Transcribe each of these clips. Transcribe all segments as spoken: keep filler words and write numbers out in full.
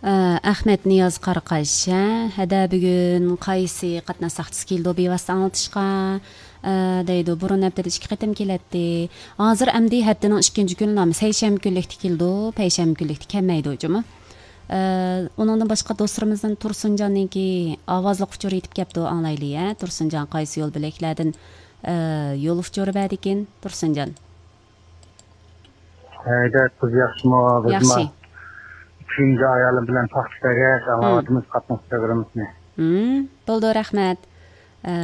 ئە، ئەخمەت نىياز قاراقاش، ھە؟ ھەدە، بۈگۈن قايسى قاتناش ساقچىسى كېلىدۇ بىۋاسىتە ئاڭلىتىشقا؟ ئە، دەيدۇ، بۇرۇن ھەپتىدە ئىككى قېتىم كېلەتتى. ھازىر ئەمدى ھەپتىنىڭ ئىككىنچى كۈنى، نامى سەيشەنبە كۈنلۈكتە كېلىدۇ، پەيشەنبە كۈنلۈكتە كەلمەيدۇ جۇمۇ. ئە، ئۇنىڭدىن باشقا دوستلىرىمىزدىن تۇرسۇنجاننىڭكى ئاۋازلىق ئۇچۇرى يېتىپ كەپتۇ، ئاڭلايلى، ھە؟ تۇرسۇنجان قايسى يول بۆلەكلەردىن، ئە، يول ئۇچۇرى بەردىكىن، تۇرسۇنجان؟ ھەيدەر قىز ياخشىمۇ؟ بىزمۇ ياخشى. كۈندە ئايالىم بىلەن پاختا تەگەش، ئاڭلاۋاتىمىز قاتناش پروگراممىسىنى. ھىم، بولدى، رەھمەت. ئە،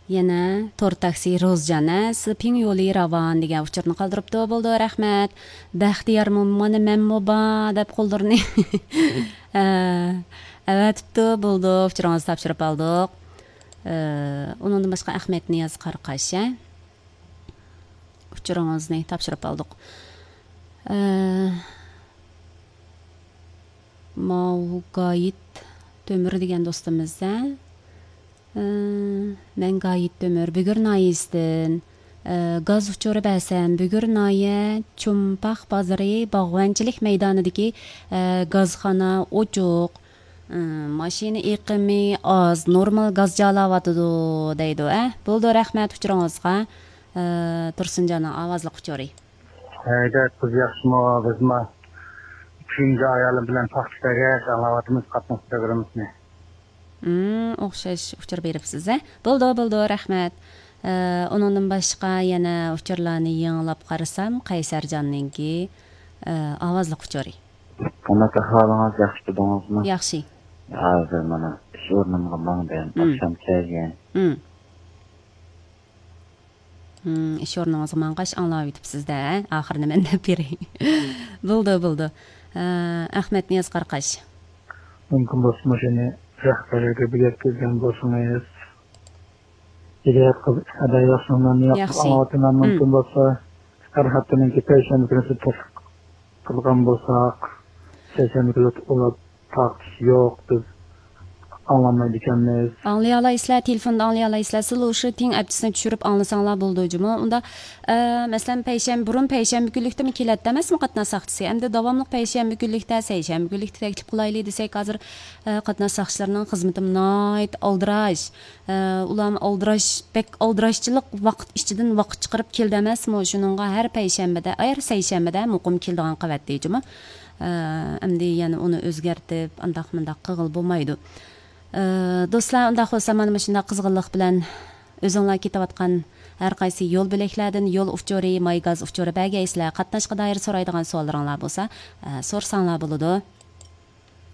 يەنە تور تاكسى روزجان، ئە، سىز پىڭ يولى راۋان دېگەن ئۇچۇرنى قالدۇرۇپتۇ. بولدى، رەھمەت. بەختىيارمۇ، مانا مەنمۇ بار دەپ قوللىرىنى، ئە، ئەۋەتىپتۇ. بولدى، ئۇچۇرىڭىزنى تاپشۇرۇپ ئالدۇق. ئە، ئۇنىڭدىن باشقا ئەخمەت نىياز قاراقاش، ئە؟ ئۇچۇرىڭىزنى تاپشۇرۇپ ئالدۇق. ئە، ماۋۇ گايىت تۆمۈر دېگەن دوستىمىز، ھە؟ ئە، مەن گايىت تۆمۈر، بۈگۈر ناھىيەسىدىن. ئە، گاز ئۇچۇرى بەرسەم، بۈگۈر ناھىيە چومپاق بازىرى باغۋەنچىلىك مەيدانىدىكى، ئە، گازخانا ئوچۇق. ئە، ماشىنا ئېقىمى ئاز، نورمال گاز جالاۋاتىدۇ، دەيدۇ، ئە. بولدى، رەھمەت ئۇچۇرىڭىزغا. ئە، تۇرسۇنجاننىڭ ئاۋازلىق ئۇچۇرى. ھەيدەر قىز ياخشىمۇ؟ بىزمۇ كۈندە ئايالىم بىلەن پاختا تەگەش، ئاڭلاۋاتىمىز قاتناش پروگراممىسىنى. ھىم، ئوخشاش ئۇچۇر بېرىپسىز، ھە؟ بولدى، بولدى، رەھمەت. ئە، ئۇنىڭدىن باشقا يەنە ئۇچۇرلارنى يېڭىلاپ قارىسام، قەيسەرجاننىڭكى، ئە، ئاۋازلىق ئۇچۇرى. قانداق ئەھۋالىڭىز؟ ياخشى تۇردىڭىزمۇ؟ ياخشى. ھازىر مانا ئىش ئورنۇمغا ماڭدىم. ھىم. ئاخشام كەلگەن. ھىم. ھىم، ئىش ئورنىڭىزغا ماڭغاچ ئاڭلاۋېتىپسىز-دە، ئاخىرىنى مەن دەپ بېرەي. بولدى، بولدى. ئە، ئەخمەت نىياز قاراقاش. مۇمكىن بولسا مۇشۇنى رەھبەرلەرگە بىر يەتكۈزگەن بولسىڭىز. ھىدايەت قىز، ھىدايەت ياخشىمۇ؟ مەن ياخشى ئاڭلاۋاتىمەن. مۇمكىن بولسا ھەر ھەپتىنىڭكى پەيشەنبە كۈنى سىز تەستىق قىلغان بولساق، سەيشەنبە كۈنى ئۇلار تارقىتىش يوق، بىز ئاڭلانمايدىكەنمىز. ئاڭلىيالايسىلەر، تېلېفوندا ئاڭلىيالايسىلەر. سىلەر ئۇشۇ تېڭ ئەپچىسىنى چۈشۈرۈپ ئاڭلىساڭلار بولىدۇ جۇمۇ. ئۇندا، ئە، مەسىلەن، پەيشەنبە، بۇرۇن پەيشەنبە كۈنلۈكتىمۇ كېلەتتى ئەمەسمۇ قاتناش ساقچىسى؟ ئەمدى داۋاملىق پەيشەنبە كۈنلۈكتە، سەيشەنبە كۈنلۈكتە تەكلىپ قىلايلى دېسەك، ھازىر، ئە، قاتناش ساقچىلىرىنىڭ خىزمىتىمۇ ناھايىتى ئالدىراش. ئە، ئۇلارمۇ ئالدىراش، بەك ئالدىراشچىلىق ۋاقىت ئىچىدىن ۋاقىت چىقىرىپ كېلىدۇ ئەمەسمۇ؟ شۇنىڭغا ھەر پەيشەنبىدە، ھەر سەيشەنبىدە مۇقىم كېلىدىغان قىلىۋەتتى جۇمۇ. ئە، ئەمدى يەنە ئۇنى ئۆزگەرتىپ، ئانداق مۇنداق قىلغىلى بولمايدۇ. ئە، دوستلار، ئۇنداق بولسا مانا مۇشۇنداق قىزغىنلىق بىلەن ئۆزۈڭلار كېتىۋاتقان ھەر قايسى يول بۆلەكلەردىن يول ئۇچۇرى، ماي گاز ئۇچۇرى بەرگەيسىلەر. قاتناشقا دائىر سورايدىغان سوئاللىرىڭلار بولسا، ئە، سورىساڭلار بولىدۇ.